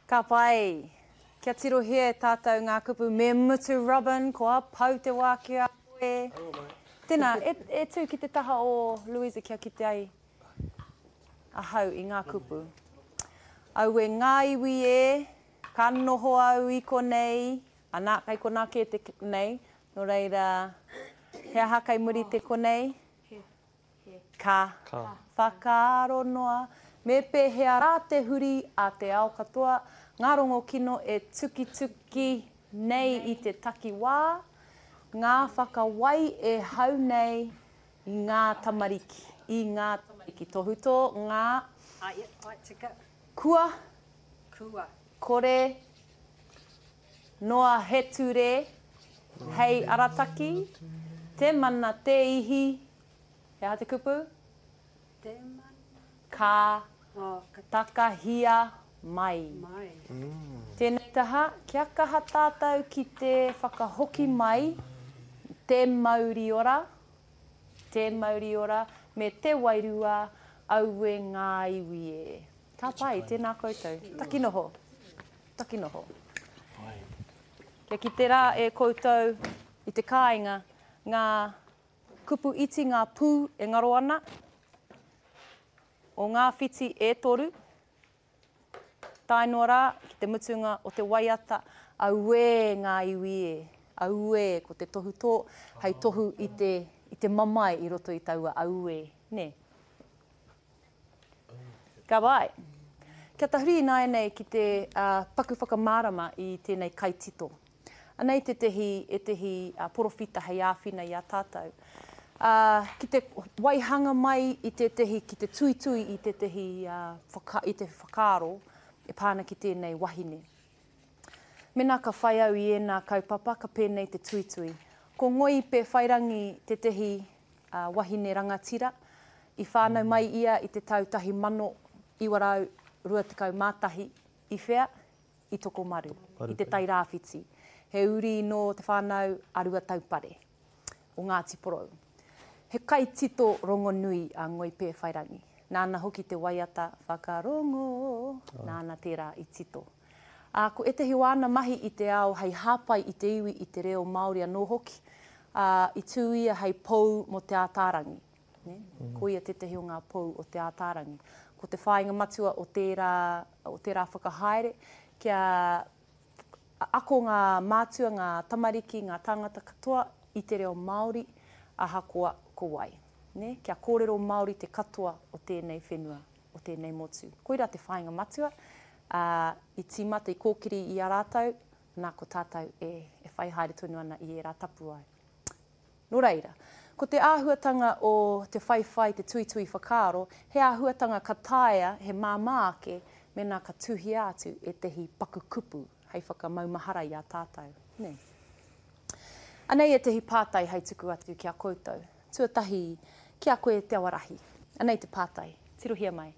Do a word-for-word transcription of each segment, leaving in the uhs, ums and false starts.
Ka pai. Kia tirohia e tātou ngā kupu me mutu Robin, kua pau te wā ki a koe. Tēnā, e, e tū ki te taha o Louisa kia kite ai ahau i ngā kupu. Aue ngā iwi e, ka noho au i konei, ana, kei konā kē te nei, nō reira, he aha kei muri te konei? Ka. Ka. Whakaaro noa, me pēhea rā te huri a te ao katoa, ngā rongo kino e tukituki nei i te takiwā, ngā whakawai e hau nei i ngā tamariki, i ngā tamariki. Tohutō, ngā. Ah, yep, ai, tika. Kua. Kua. Kore. Noa he ture, hei arataki, te mana, te ihi, he aha te kupu? Te mana. Ka. Oh, ka. Takahia mai. Mai. Tēnei taha, kia kaha tātou ki te whakahoki mai te mauri ora, te mauri ora, me te wairua, aue ngā iwi e. Ka pai, tēnā koutou. Takinoho. Takinoho. Kia kite rā e koutou i te kāinga ngā kupu iti, ngā pū e ngaro ana, o ngā whiti e toru, tae noa rā ki te mutunga o te waiata, auē ngā iwi e, auē, ko te tohutō hei tohu i te, i te mamae i roto i taua auē, nē. Ka pai. Kia tahuri ināianei ki te uh, paku whakamārama i tēnei kaitito. Anei tētehi, ētehi uh, porowhita hei āwhina i a tātou. Uh, ki te waihanga mai i tētehi, ki te tuitui i tētehi uh, whaka, i te whakaaro e pā ana ki tēnei wahine. Mēnā ka whai au i ēnā kaupapa, ka pēnei te tuitui. Ko Ngoi Pēwhairangi tētehi uh, wahine rangatira, i whānau mai ia i te tau tahi mano iwa rau rua tekau mā tahi, i whea? I Tokomaru, i te Tairāwhiti. He uri nō te whānau a Ruataupare, o Ngāti Porou. He kaitito rongonui a Ngoi Pēwhairangi. Nāna hoki te waiata Whakarongo, nāna tērā i tito. Ā, ko ētehi o āna mahi i te ao hei hāpai i te iwi i te reo Māori anō hoki, ā, i tū ia hei pou mō Te Ātaarangi. Nē? Ko ia tētehi o ngā pou o Te Ātaarangi. Ko te whāinga matua o tērā, o tērā whakahaere, kia ako ngā mātua, ngā tamariki, ngā tāngata katoa i te reo Māori, ahakoa ko wai. Nē? Kia kōrero Māori te katoa o tēnei whenua, o tēnei motu. Koirā te whāinga matua, ā, i tīmata, i kōkiri i a rātou, nā ko tātou e, e whai haere tonu ana i ērā tapuwae. Nō reira, ko te āhuatanga o te whaiwhai, te tuitui whakaaro, he āhuatanga ka taea, he māmā ake, mēnā ka tuhia atu ētehi paku kupu hei whakamaumahara i a tātou. Nē. Anei ētehi pātai hei tuku atu ki a koutou. Tuatahi, ki a koe Te Awarahi. Anei te pātai, tirohia mai.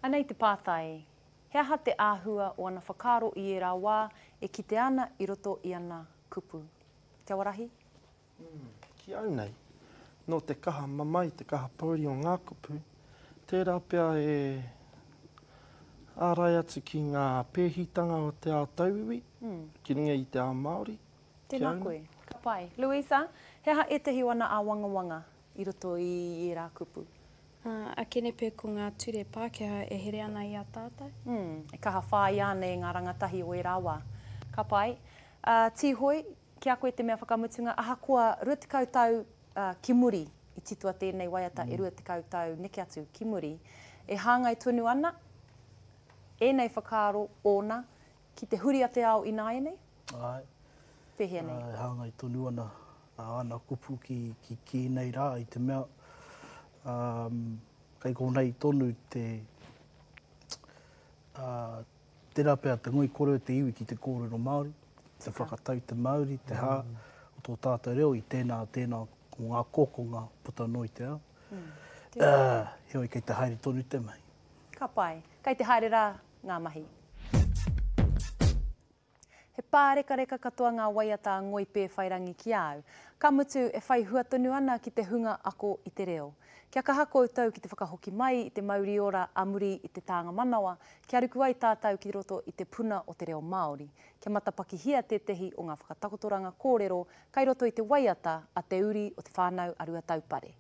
Anei te pātai, he aha te āhua o ana whakaaro i ērā wā e kite ana i roto i ana kupu? Te Awarahi? Mm, ki au nei, nō te kaha mamae, te kaha pouri o ngā kupu, tērā pea e ārai atu ki ngā pēhitanga o te ao tauiwi, mm. ki runga i te ao Māori. Tēnā koe, ka pai. Louisa, he aha ētehi o ana āwangawanga i roto i ērā kupu? Uh, akene pea ko ngā ture Pākehā e here ana i a tātou. Mm, e kaha whāia ana e ngā rangatahi o ērā wā. Ka pai. Uh, Tīhoi, ki a koe te mea whakamutunga, ahakoa rua tekau tau uh, ki muri, i titoa tēnei waiata mm. e rua tekau tau neke atu ki muri, e hāngai tonu ana ēnei whakaaro ōna ki te huri a te ao ināianei? Ai. Pēhea nei? E hāngai tonu ana ana kupu ki, ki, ki nei rā i te mea um, kei konei tonu te uh, tērā pea te ngoikore o te iwi ki te kōrero Māori, te whakatau te Māori, te hā mm. o tō tātou reo i tēnā, tēnā o ngā kokonga puta noa i te ao. Mm. Uh, heoi kei te haere tonu te mahi. Ka pai. Kei te haere rā ngā mahi. He pārekareka katoa ngā waiata a Ngoi Pēwhairangi ki a au. Ka mutu, e whai hua tonu ana ki te hunga ako i te reo. Kia kaha koutou ki te whakahoki mai i te mauri ora a muri i te tānga manawa, kia ruku ai tātou ki roto i te puna o te reo Māori. Kia matapakihia tētehi o ngā whakatakotoranga kōrero kai roto i te waiata a te uri o Te Whānau a Ruataupare.